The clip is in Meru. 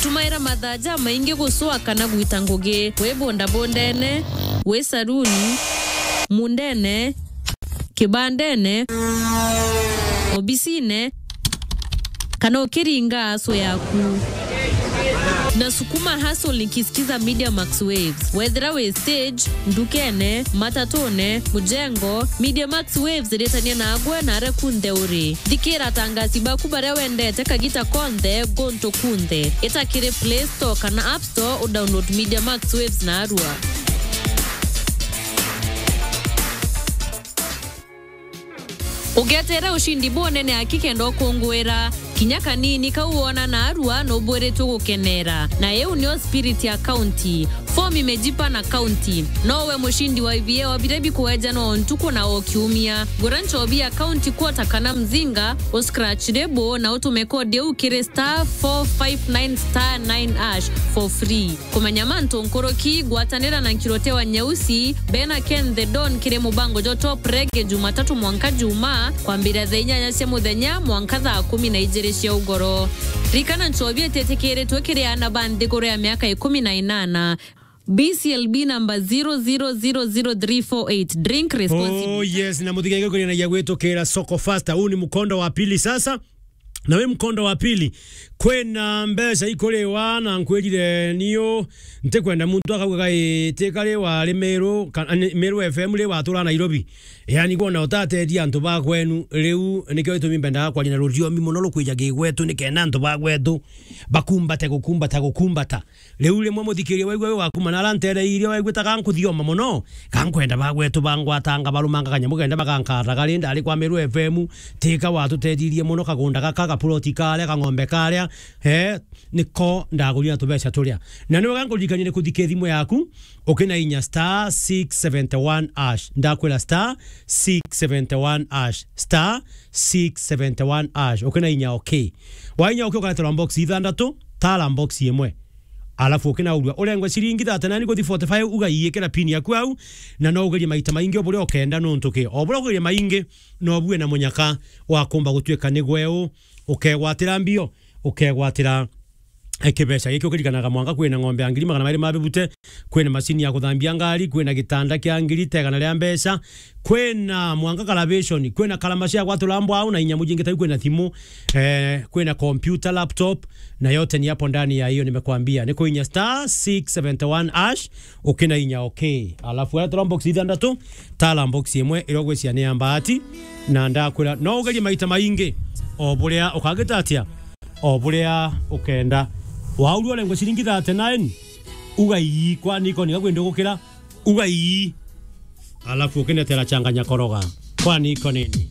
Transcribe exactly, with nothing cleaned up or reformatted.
Tumaira mathaa jamaingi gucwa kana gwita ngugi, wi bondabondene, wi saruni, mundene, kibandene, obisine, kana ukiringa aso yaku. Na sukuma hustle nikisikiza Media Max Waves. Wethira wi stage, ndukene, matatune, mujengo, Media Max Waves iritania nagwe na aria kunthe uri. Thikira atangasi baku baria wendete kagita konthe, guntu kunthe. Ita kiri Play Store kana App Store u download Media Max Waves narua. Ugeteera ushindi bunene aki kenda ukunguira. Kinya kanini kau wona narua nubwiritwe gukenera. Na iu nio spirit ya county. Form imejipa na county. No we mushindi wa I V A wa biria bikuejanwa o ntuku na o kiumia. Gura nchobi ya county quarter kana mzinga, u scratch lebo na utume kodi iu kiri star four five nine star nine hash for free. Kumenya mantu nkuruki, gwatanira na Nkirote wa Nyeusi, bena Ken the Don kiri mubango jwa Top Reggae Jumatatu mwanka Juma, kwambiria thaa inyanya cia muthenya mwanka thaa kumi na ijiri cia ugoro. Ririkana, nchobi ititikiritwe kiri aana ba nthiguru ya miaka ikumi na inana. B C L B number zero zero zero zero three four eight. Drink responsibly. Oh yes, na muthikenge kurinagia gwitukira Soko Faster. Huu ni mkondo wa pili sasa. Na wi mkondo wa pili, kwina mbeca ikuriwa, na nkwirire niu ntikwenda muntu akauga gai ti kari wari Meru, ka-, ani, Meru F M ri watura Nairobi. Yani, kwona utateethia antu ba kwenu, riu nikio gitumi mbendaga kwaria na ruriomi mono rukwija gigwetu, nikenda antu ba gwetu bakumbate, gukumbata, gukumbata. Riu rimwe muthikiria waigua wi waku manara ntereire, waigua ta gankuthioma mono, gankwenda bagwetu bangwatanga barumanga kanyamu kenda bagankataga ri ndari kwa Meru F M, tika watutethiririe mono, kagunda gaka, gapuroti karia, kang'ombe karia, eh, niko ndagurire na tubeca turia. Na ni wega nkuririkanie ni kuthika thimu yaku, ukina inya star six seventy one hash. Ndakwira star six seventy one hash, star six seventy one hash, ukina inya okay. Wainya okay, ukareterwa box ithandatu, tara box imwe. Alafu ukinaurua, urengwe ciringi thirty nine guthi forty five, ugaikira pin yaku au, na no ugerie maita maingi o buria ukenda, nuntu ki, o buria ugerie maingi, no bue na munyaka wa kumba gutuika ni gwe u, ukegwatira mbio, ukegwatira, eh, kibeca giki. Ukirikanaga mwanka kwina ng'ombe ya ngiri magana mairi ma bibute, kwina macini ya kuthambia ngari, kwina gitanda kia ngiri tegana ria mbeca, kwina mwanka karabishoni, kwina karamaci ya gwatula mbwau na inya mujingi tau, kwina thimu, eh, kwina kompyuta, laptop, na yote ni hapo ndani ya hiyo nimekwambia. Ni kuinya star six seventy one hash, ukina inya okay. Alafu wetera box ithandatu, tara box imwe iria ugwiciria ni ya mbaati, na ndakwira, no ugerie maita maingi, o buria ukagita atia, o buria ukenda. Waurua urengwe ciringi thirty nine, uga ii, kwani iko ni gakwenda gukira, uga ii. Alafu ukinetera changanya koroga. Kwani iko nini?